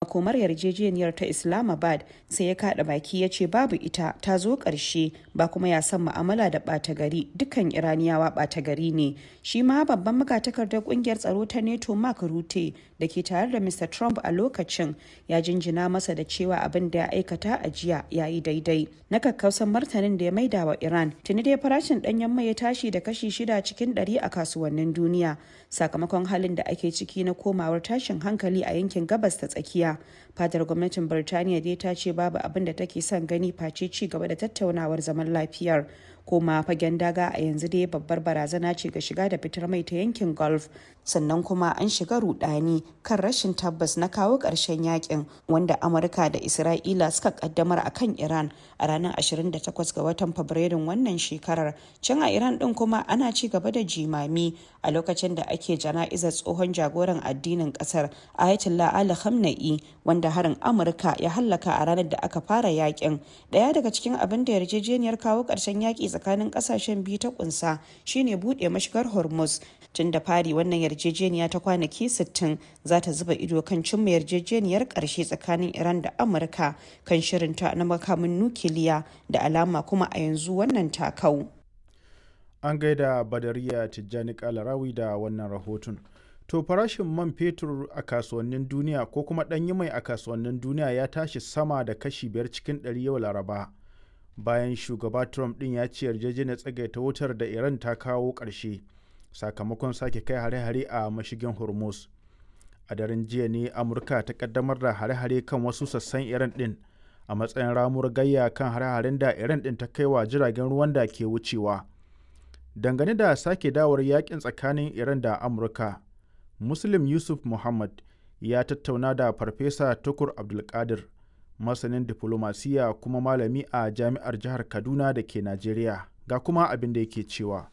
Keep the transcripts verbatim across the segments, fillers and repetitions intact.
makomar yarjejeniyar ta Islamabad, sai ya kada baki ya ce babu ita, ta zo ƙarshe, ba kuma ya san mu'amala da ɓata gari, dukkan Iraniyawa ɓata gari ne. Shi ma babban magatakardar kungiyar tsaro ta NATO Mark Rutte da ke tare da Mister Trump a lokacin ya jinjina masa da cewa abin da ya aikata a jiya ya yi daidai. Na kakkausan martanin da ya maida wa Iran, tuni dai farashin ɗanyen mai ya tashi da kashi shida cikin ɗari a kasuwannin duniya sakamakon halin da ake ciki na komawar tashin hankali a yankin Gabas ta Tsakiya. Fadar gwamnatin Birtaniya dai ta ce babu abin da take son gani face ci gaba da tattaunawar zaman lafiyar. Koma fagen daga a yanzu dai babbar barazana ce ga shiga da fitar mai ta yankin Gulf, sannan kuma an shiga rudani kan rashin tabbas na kawo ƙarshen yakin wanda Amurka da Isra'ila suka kaddamar a kan Iran a ranar ashirin da takwas ga watan Fabrairun wannan shekarar. Can a Iran din kuma ana ci gaba da jimami a lokacin da ake jana'izar tsohon jagoran addinin kasar Ayatollah Ali Khamenei, wanda harin Amurka ya hallaka a ranar da aka fara yakin. Daya daga cikin abin da yarjejeniyar kawo ƙarshen yaki tsakanin kasashen biyu ta kunsa shine bude mashigar Hormuz. Tun da fari wannan yarjejeniya ta kwanaki sittin za ta zuba ido kan cimma yarjejeniyar karshe tsakanin Iran da Amurka kan shirinta na makamin nukiliya, da alama kuma a yanzu wannan takau. An gaida Badariya Tijjani Kalarawi da wannan rahoton. To, farashin man fetur a kasuwannin duniya ko kuma ɗanyi mai a kasuwannin duniya ya tashi sama da kashi biyar cikin ɗari yau Laraba, bayan shugaba Trump ɗin ya ce yarjejeniyar tsagaita wutar da Iran ta kawo ƙarshe sakamakon sake kai hare-hare a mashigin Hormuz. A daren jiya ne Amurka ta kaddamar da hare-hare kan wasu sassan Iran ɗin a matsayin ramuwar gayya kan hare-haren da Iran ɗin ta kai wa jiragen ruwan da ke wucewa. Dangane da sake dawar yakin tsakanin Iran da Amurka, Muslim Yusuf Muhammad ya tattauna da Farfesa Tukur Abdulkadir, masanin diflomasiya kuma malami a jami'ar jihar Kaduna da ke Najeriya, ga kuma abin da yake cewa.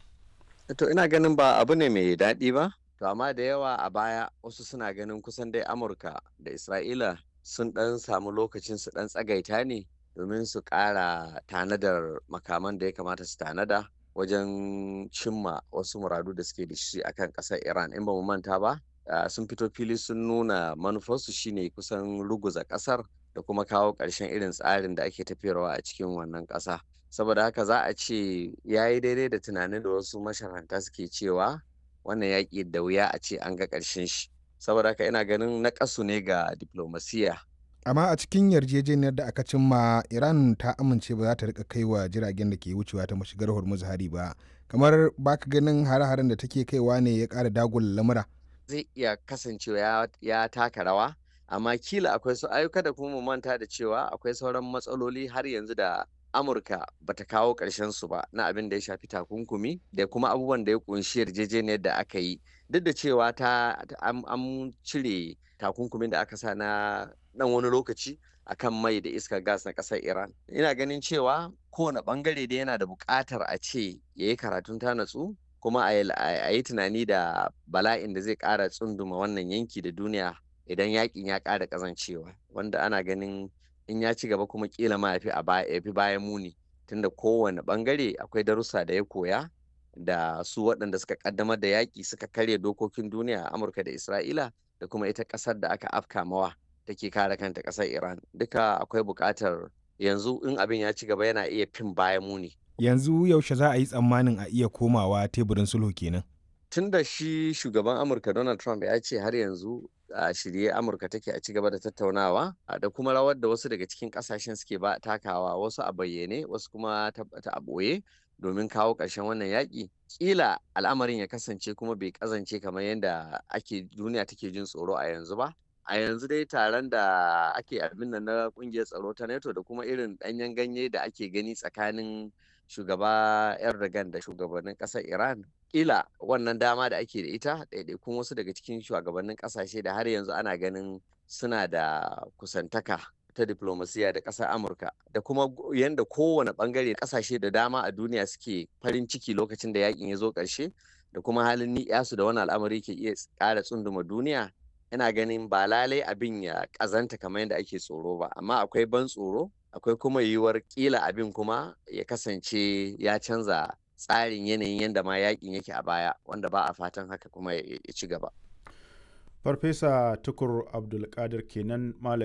To, ina ganin ba abu ne mai daɗi ba, to amma da yawa a baya wasu suna ganin kusan dai Amurka da Isra'ila sun ɗan samu lokacin su ɗan tsagaita ne domin su ƙara tanadar makaman da ya kamata su tanada wajen cimma wasu muradu da suke da shi akan ƙasar Iran. In ba mu manta ba, sun fito fili sun nuna manufarsu shine kusan ruguza ƙasar da kuma kawo ƙarshen irin tsarin da ake tafiyarwa a cikin wannan ƙasa. Saboda haka za a ce ya yi daidai da tunanin da wasu masharanta suke cewa wannan yaƙi da wuya a ce an ga ƙarshen shi. Saboda haka ina ganin naƙasu ne ga diplomasiya. Amma a cikin yarjejeniyar da aka cimma, Iran ta amince ba za ta rika kaiwa jiragen da ke wucewa ta mashigar Hormuz hari ba. Kamar baka ganin hare-haren da take kaiwa ne ya ƙara dagula lamura? Zai iya kasancewa ya taka rawa, amma kila akwai su ayyuka da kuma mu manta da cewa akwai sauran matsaloli har yanzu da Amurka bata kawo ƙarshen su ba, na abin da ya shafi takunkumi da kuma abubuwan da ya kunshi yarjejeniyar da aka yi, duk da cewa ta an cire takunkumin da aka sa na dan wani lokaci akan mai da iskar gas na ƙasar Iran. Ina ganin cewa kowane bangare da yana da buƙatar a ce ya yi karatun ta natsu kuma a yi tunani da bala'in da zai ƙara tsunduma wannan yanki da duniya idan yakin ya ƙara ƙazancewa, wanda ana ganin in ya ci gaba kuma kila ma ya fi bayan muni, tunda kowane bangare akwai darussa da ya koya da su waɗanda suka kaddamar da yaƙi suka karya dokokin duniya, Amurka da Isra'ila, da kuma ita ƙasar da aka afka mawa take kare kanta, ƙasar Iran. Duka akwai buƙatar yanzu in abin ya ci gaba yana iya fin bayan muni. Yanzu yaushe za a yi tsammanin a iya komawa teburin sulhu kenan? Tun da shi shugaban Amurka Donald Trump ya ce har yanzu a shirye Amurka take a ci gaba da tattaunawa, da kuma rawar da wasu daga cikin kasashen suke ba takawa, wasu a bayyane, wasu kuma ta a ɓoye, domin kawo ƙarshen wannan yaƙi, kila al'amarin ya kasance kuma bai kazance kamar yadda ake duniya take jin tsoro a yanzu ba. A yanzu dai taron da ake abin nan na kungiyar tsaro ta NATO da kuma irin ɗanyen ganye da ake gani tsakanin shugaba Erdogan da shugabannin ƙasar Iran, kila wannan dama da ake da ita, ɗaiɗaikun wasu daga cikin shugabannin ƙasashe da har yanzu ana ganin suna da kusantaka ta diplomasiya da ƙasar Amurka, da kuma yadda kowane ɓangare ƙasashe da dama a duniya suke farin ciki lokacin da yakin ya zo ƙarshe, da kuma halin ni'yasu da wani al'amari ke iya ƙara tsunduma duniya, ina ganin ba lalai abin ya ƙazanta kamar yadda ake tsoro ba. Amma akwai ban tsoro, akwai kuma yiwuwar ƙila abin kuma ya kasance ya canza tsarin yanayin yadda ma yakin yake a baya, wanda ba a fatan haka kuma ya ci gaba. Farfesa Tukur Abdulkadir kenan, malami